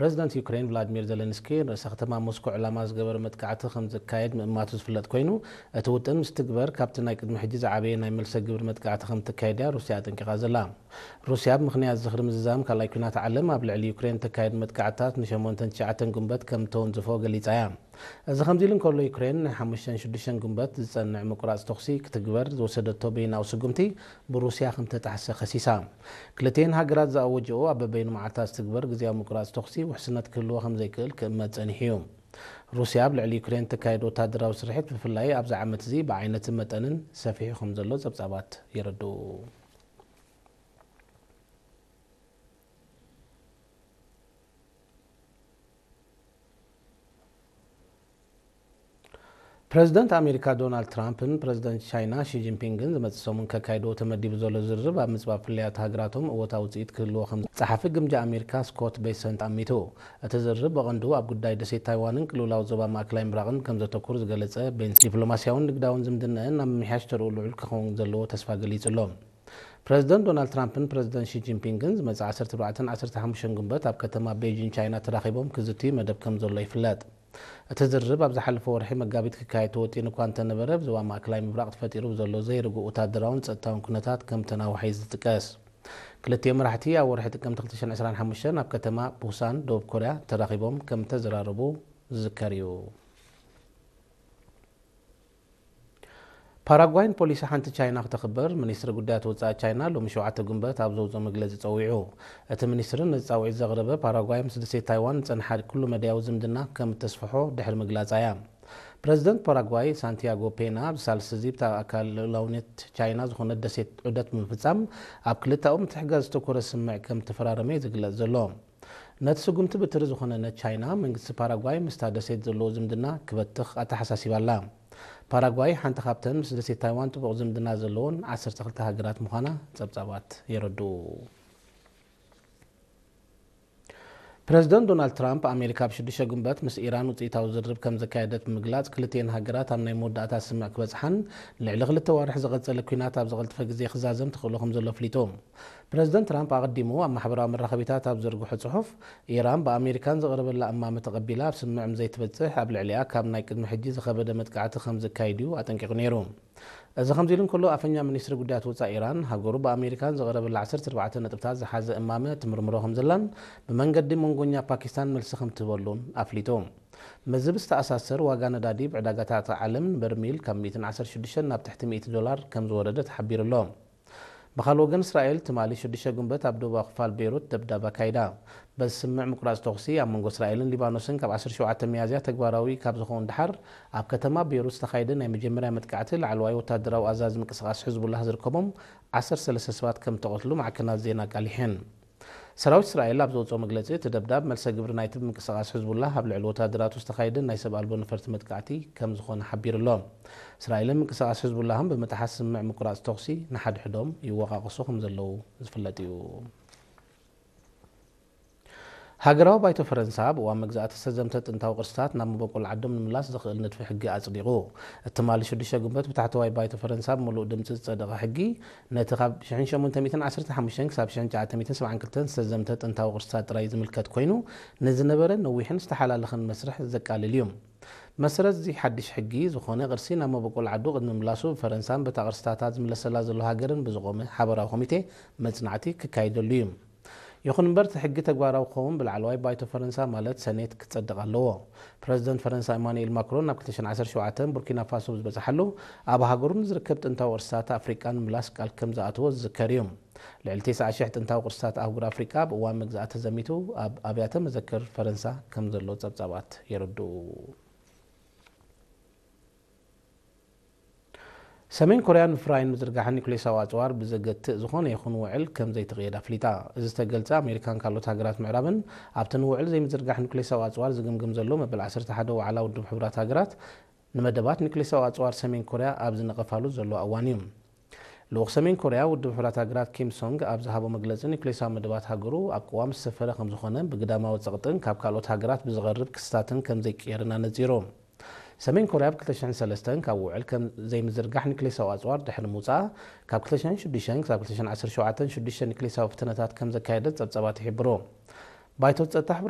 ፕረዚደንት ዩክሬን ቭላድሚር ዘለንስኪ ርእሰ ከተማ ሞስኮ ዕላማ ዝገበረ መጥቃዕቲ ከም ዘካየድ ምእማቱ ዝፍለጥ ኮይኑ፣ እቲ ውጥን ምስ ትግበር ካብቲ ናይ ቅድሚ ሕጂ ዝዓበየ ናይ መልሰ ግብሪ መጥቃዕቲ ከም ትካየድ እያ ሩስያ ኣጠንቂቓ ዘላ። ሩስያ ብምኽንያት ዝኽሪ ምዝዛም ካልኣይ ኲናት ዓለም ኣብ ልዕሊ ዩክሬን እተካየድ መጥቃዕትታት ንሸሞንተን ትሽዓተን ጉንበት ከም እተወንዝፎ ገሊጻ እያ። እዚ ከምዚ ኢሉ እንከሎ፣ ዩክሬን ንሓሙሽተን ሽዱሽተን ጉንበት ዝጸንዕ ምቁራጽ ተኹሲ ክትግበር ዝወሰደቶ በይናዊ ስጉምቲ ብሩስያ ከም ተጣሕሰ ከሲሳ። ክልቲኤን ሃገራት ዝኣወጀኦ ኣብ በበይኑ መዓልታት ዝትግበር ግዝያዊ ምቁራጽ ተኹሲ ውሕስነት ክህልዎ ከም ዘይክእል ክእመት ጸኒሑ እዩ። ሩስያ ኣብ ልዕሊ ዩክሬን እተካየዶ ወታደራዊ ስርሒት ብፍላይ ኣብዚ ዓመት እዚ ብዓይነትን መጠንን ሰፊሑ ከም ዘሎ ጸብጻባት የረድኡ። ፕረዚደንት ኣሜሪካ ዶናልድ ትራምፕን ፕረዚደንት ቻይና ሺ ጂንፒንግን ዝመጽእ ሰሙን ከካይድዎ ተመዲቡ ዘሎ ዝርርብ ኣብ ምጽባብ ፍልልያት ሃገራቶም እወታዊ ውጽኢት ክህልዎ ከም ጸሓፊ ግምጃ ኣሜሪካ ስኮት ቤሰንት ኣሚቱ። እቲ ዝርርብ ብቐንዱ ኣብ ጉዳይ ደሴት ታይዋንን ቅልውላው ዞባ ማእከላይ ምብራቕን ከም ዘተኩር ዝገለጸ ቤንስ፣ ዲፕሎማስያውን ንግዳውን ዝምድናአን ናብ ምምሕያሽ ተርኡ ልዑል ክኸውን ዘለዎ ተስፋ ገሊጹ ኣሎ። ፕረዚደንት ዶናልድ ትራምፕን ፕረዚደንት ሺ ጂንፒንግን ዝመጽእ ዓሰርተ ኣርባዕተን ዓሰርተ ሓሙሽተን ጉንበት ኣብ ከተማ ቤይጂን ቻይና ተራኺቦም ክዝትዩ መደብ ከም ዘሎ ይፍለጥ። እቲ ዝርርብ ኣብ ዝሓለፈ ወርሒ መጋቢት ክካየድ ተወጢኑ እኳ እንተነበረ፣ ኣብ ዞባ ማእከላይ ምብራቕ ተፈጢሩ ብዘሎ ዘይርጉእ ወታደራውን ጸጥታውን ኩነታት ከም ተናውሐ እዩ ዝጥቀስ። ክልቲኦም መራሕቲ ኣብ ወርሒ ጥቅምቲ ክልተ ሽሕን ዕስራን ሓሙሽተን ኣብ ከተማ ቡሳን ደቡብ ኮርያ ተራኺቦም ከም ተዘራረቡ ዝዝከር እዩ። ፓራጓይ ንፖሊሲ ሓንቲ ቻይና ክተኽብር ሚኒስትሪ ጉዳያት ወጻኢ ቻይና ሎሚ ሸውዓተ ጉንበት ኣብ ዘውጽኦ መግለጺ ጸዊዑ። እቲ ሚኒስትሪ ነዚ ጻውዒት ዘቕረበ ፓራጓይ ምስ ደሴት ታይዋን ዝጸንሓ ኩሉ መዳያዊ ዝምድና ከም እተስፍሖ ድሕሪ ምግላጻ እያ። ፕረዚደንት ፓራጓይ ሳንቲያጎ ፔና ኣብዚ ሳልስቲ እዚ ብታ ኣካል ልኡላውነት ቻይና ዝኾነት ደሴት ዑደት ብምፍጻም ኣብ ክልተኣዊ ምትሕግጋዝ ዘተኮረ ስምምዕ ከም እተፈራረመ እዩ ዝግለጽ ዘሎ። ነቲ ስጉምቲ ብትሪ ዝኾነነት ቻይና፣ መንግስቲ ፓራጓይ ምስታ ደሴት ዘለዎ ዝምድና ክበትኽ ኣተሓሳሲባ ኣላ። ፓራጓይ ሓንቲ ካብተን ምስ ደሴት ታይዋን ጥቡቕ ዝምድና ዘለዎን ዓሰርተ ክልተ ሃገራት ምዃና ጸብጻባት የረድኡ። ፕረዚደንት ዶናልድ ትራምፕ፣ ኣሜሪካ ኣብ ሽዱሽተ ጉንበት ምስ ኢራን ውጽኢታዊ ዝርርብ ከም ዘካየደት ብምግላጽ፣ ክልቲኤን ሃገራት ኣብ ናይ መወዳእታ ስምምዕ ክበጽሓን ልዕሊ ክልተ ዋርሕ ዝቐጸለ ኲናት ኣብ ዝቐልጠፈ ግዜ ክዛዘም ተኽእሎ ከም ዘሎ ኣፍሊጡ። ፕረዚደንት ትራምፕ ኣቐዲሙ ኣብ ማሕበራዊ መራኸቢታት ኣብ ዘርግሖ ጽሑፍ፣ ኢራን ብኣሜሪካን ዝቐረበላ እማመ ተቐቢላ ኣብ ስምምዕ ምስ ዘይትበጽሕ፣ ኣብ ልዕሊኣ ካብ ናይ ቅድሚ ሕጂ ዝኸበደ መጥቃዕቲ ከም ዘካይድ እዩ ኣጠንቂቑ ነይሩ። እዚ ከምዚ ኢሉ እንከሎ፣ ኣፈኛ ሚኒስትሪ ጉዳያት ወጻኢ ኢራን፣ ሃገሩ ብኣሜሪካን ዝቐረበላ ዓሰርተ ኣርባዕተ ነጥብታት ዝሓዘ እማመ ትምርምሮ ከም ዘላን ብመንገዲ መንጎኛ ፓኪስታን መልሲ ከም ትህበሉን ኣፍሊጡ። ምስዚ ብዝተኣሳሰር፣ ዋጋ ነዳዲ ብዕዳጋታት ዓለም ንበርሚል ካብ ሚእትን ዓሰርተ ሽዱሽተን ናብ ትሕቲ ሚእቲ ዶላር ከም ዝወረደ ተሓቢሩ ኣሎ። ብኻልእ ወገን፣ እስራኤል ትማሊ ሽዱሽተ ጉንበት ኣብ ደቡባዊ ክፋል ቤይሩት ደብዳብ ኣካይዳ። በዚ ስምምዕ ምቁራጽ ተኹሲ ኣብ መንጎ እስራኤልን ሊባኖስን ካብ ዓሰርተ ሸውዓተ ሚያዝያ ተግባራዊ ካብ ዝኸውን ደሓር፣ ኣብ ከተማ ቤይሩት ዝተኻየደ ናይ መጀመርያ መጥቃዕቲ ላዕለዋይ ወታደራዊ ኣዛዚ ምንቅስቓስ ሕዝቡላህ ዝርከቦም ዓሰርተ ሰለስተ ሰባት ከም እተቐትሉ ማዕከናት ዜና ኣቃሊሐን። ሰራዊት እስራኤል ኣብ ዘውጽኦ መግለጺ፣ እቲ ደብዳብ መልሰ ግብሪ ናይቲ ብምንቅስቓስ ሕዝቡላህ ኣብ ልዕሊ ወታደራቱ ዝተኻየደ ናይ ሰብ ኣልቦ ነፈርቲ መጥቃዕቲ ከም ዝኾነ ሓቢሩ ኣሎ። እስራኤልን ምንቅስቓስ ሕዝቡላህን ብምጥሓስ ስምምዕ ምቁራጽ ተኹሲ ንሓድሕዶም ይወቓቐሱ ከም ዘለዉ ዝፍለጥ እዩ። ሃገራዊ ባይቶ ፈረንሳ ኣብ እዋን መግዛእቲ ዝተዘምተ ጥንታዊ ቅርስታት ናብ መበቆል ዓዶም ንምምላስ ዘኽእል ንድፊ ሕጊ ኣጽዲቑ። እቲ ትማሊ ሽዱሽተ ጉንበት ብታሕተዋይ ባይቶ ፈረንሳ ብምሉእ ድምጺ ዝጸደቐ ሕጊ፣ ነቲ ካብ ሽሕን ሸሞንተ ሚእትን ዓሰርተ ሓሙሽተን ክሳብ ሽሕን ትሽዓተ ሚእትን ሰብዓን ክልተን ዝተዘምተ ጥንታዊ ቅርስታት ጥራይ ዝምልከት ኮይኑ፣ ንዝነበረ ነዊሕን ዝተሓላለኸን መስርሕ ዘቃልል እዩ። መሰረት እዚ ሓድሽ ሕጊ፣ ዝኾነ ቅርሲ ናብ መበቆል ዓዱ ቅድሚ ምላሱ ብፈረንሳን በታ ቅርስታታ ዝምለሰላ ዘሎ ሃገርን ብዝቖመ ሓበራዊ ኮሚቴ መጽናዕቲ ክካየደሉ እዩ። ይኹን እምበር፣ እቲ ሕጊ ተግባራዊ ክኸውን ብላዕለዋይ ባይቶ ፈረንሳ፣ ማለት ሰኔት፣ ክጸድቕ ኣለዎ። ፕረዚደንት ፈረንሳ ኢማኑኤል ማክሮን ናብ ክልተ ሽሕን ዓሰርተ ሸውዓተን ቡርኪና ፋሶ ብዝበጽሓሉ፣ ኣብ ሃገሩ ንዝርከብ ጥንታዊ ቅርስታት ኣፍሪቃ ንምላስ ቃል ከም ዝኣተወ ዝዝከር እዩ። ልዕሊ ተስዓ ሽሕ ጥንታዊ ቅርስታት ኣህጉር ኣፍሪቃ ኣብ እዋን መግዛእቲ ተዘሚቱ ኣብ ኣብያተ መዘክር ፈረንሳ ከም ዘሎ ጸብጻባት የረድኡ። ሰሜን ኮርያ ንምፍራይን ምዝርጋሕን ኒኩሌሳዊ ኣጽዋር ብዘገትእ ዝኾነ ይኹን ውዕል ከም ዘይትቕየድ ኣፍሊጣ። እዚ ዝተገልጸ፣ ኣሜሪካን ካልኦት ሃገራት ምዕራብን ኣብቲ ንውዕል ዘይምዝርጋሕ ኒኩሌሳዊ ኣጽዋር ዝግምግም ዘሎ መበል ዓሰርተ ሓደ ዋዕላ ውድብ ሕቡራት ሃገራት፣ ንመደባት ኒኩሌሳዊ ኣጽዋር ሰሜን ኮርያ ኣብ ዝነቐፋሉ ዘሎ እዋን እዩ። ልኡኽ ሰሜን ኮርያ ውድብ ሕቡራት ሃገራት ኪም ሶንግ ኣብ ዝሃቦ መግለጺ፣ ኒኩሌሳዊ መደባት ሃገሩ ኣብ ቅዋም ዝሰፈረ ከም ዝኾነ፣ ብግዳማዊ ጸቕጥን ካብ ካልኦት ሃገራት ብዝቐርብ ክስታትን ከም ዘይቅየርን ኣነጺሩ። ሰሜን ኮርያ ኣብ ክልተ ሽሕን ሰለስተን ካብ ውዕል ከም ዘይምዝርጋሕ ኒኩሌሳዊ ኣጽዋር ድሕሪ ምውጻኣ፣ ካብ ክልተ ሽሕን ሽዱሽተን ክሳብ ክልተ ሽሕን ዓሰርተ ሸውዓተን ሽዱሽተ ኒኩሌሳዊ ፈተነታት ከም ዘካየደት ጸብጻባት ይሕብሩ። ባይቶ ጸጥታ